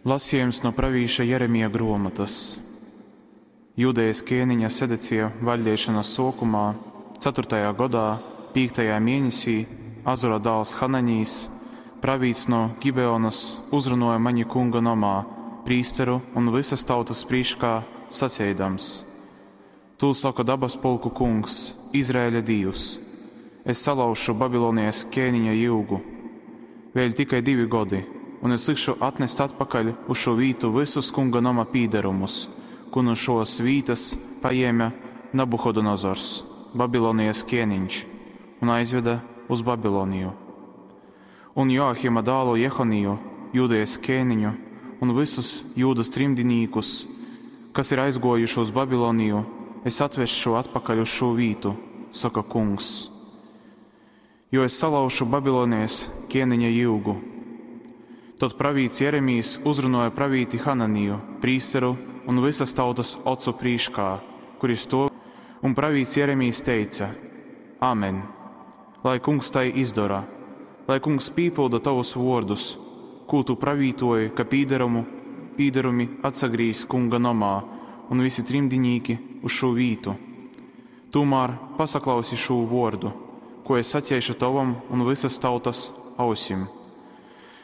Lasījums no pravīša Jeremija gruomotys. Judejas kēniņa Sedecija vaļdeišonas suokumā, 4. godā, 5. mienesī, Azura dāls Hananijs, pravīts no Gibeonas, uzrunuoja mani kunga nomā, prīsteru un vysas tautas prīškā, saceidams: Tū soka dabas pulku kungs, Izraēļa Dīvs: Es salauzšu Babilonijas kēniņa jyugu. Vēļ tikai divi godi, un es likšu atnest atpakaļ uz šo vītu vysus kunga noma pīdarumus, ko no šos vītas paņēma Nabuhodonozors, Babilonijas kēniņš, un aizveda uz Babiloniju. Un Joahima dālu Jehoniju, Jūdejas kēniņu, un visus Jūdas trimdinīkus, kas ir aizgojuši uz Babiloniju, es atvešu atpakaļ uz šo vītu, saka kungs. Jo es salaušu Babilonijas ķēniņa jyugu. Tad pravīts Jeremijs uzrunāja pravīti Hananiju, prīsteru un visas tautas ocu prīškā, kuri stāv, un pravīts Jeremijs teica: Āmen! Lai kungs tai izdara, lai kungs pīpilda tavus vārdus, ko tu pravītoji, ka pīderumu, pīderumi atsagrīz kunga nomā un visi trimdinīki uz šo vītu. Tomēr pasaklausi šo vārdu, ko es sacīšu tavam un visas tautas ausim.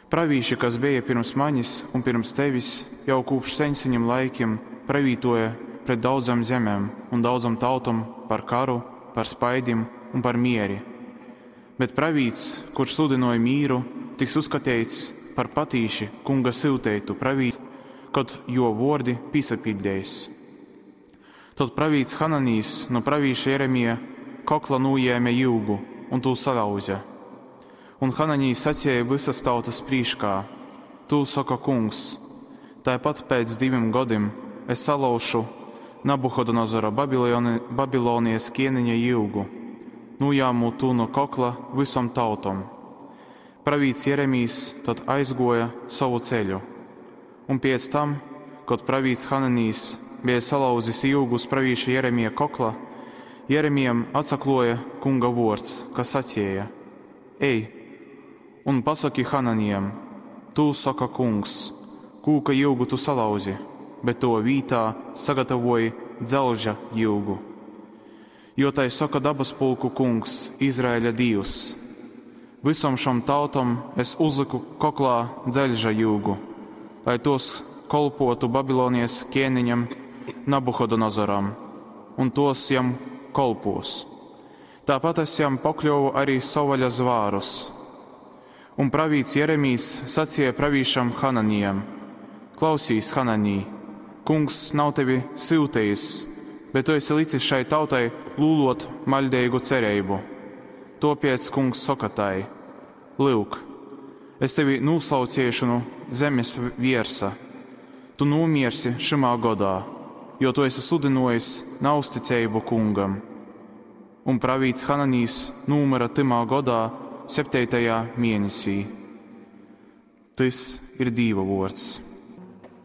Pravīši, kas bija pirms manis un pirms tevis, jau kopš senseņiem laikiem pravītoja pret daudzām zemēm un daudzām tautām par karu, par spaidim un par mieri. Bet pravīts, kurš sludināja mīru, tiks uzskatīts par patīši kunga syuteitu pravītu, kad jo vārdi pīsapildējis. Tad pravīts Hananijs no pravīša Jeremija kokla nūjēma jyugu un tū salauza. Un Hananijs sacīja visas tautas prīškā: Tū saka kungs, tāpat pēc diviem gadiem es salaušu Nabuhodonozora Babiloni, Babilonijas ķēniņa jyugu, nujāmu tū no kokla visom tautom. Pravīts Jeremijs tad aizgoja savu ceļu, un pēc tam, kad pravīts Hananijs bija salauzis ilgus pravīša Jeremija kokla, Jeremijam atsakloja kunga vārds, kas sacīja: Ej un pasaki Hananijam, tū saka kungs, kūka jyugu tu salauzi, bet to vītā sagatavoji dzelža jyugu. Jo tai saka dabas pulku kungs, Izraēļa Dīvs: Visom šom tautom es uzliku koklā dzelža jyugu, lai tos kolpotu Babilonijas ķēniņam Nabuhodonozoram, un tos jam kolpos. Tāpat es jam pokļuvu arī sovaļa zvārus. Un pravīts Jeremijs sacīja pravīšam Hananijam: Klausīs, Hananī, kungs nav tevi syutījis, bet tu esi licis šai tautai lūlot maļdīgu cerību. Topiec kungs saka tai: Lūk, es tevi nūslauciešu no zemes viersa, tu nomiersi šimā godā, jo tu esi sludinojis nausticību kungam. Un pravīts Hananijs numira timā godā, 7. mēnesī. Tas ir Dīva vārds.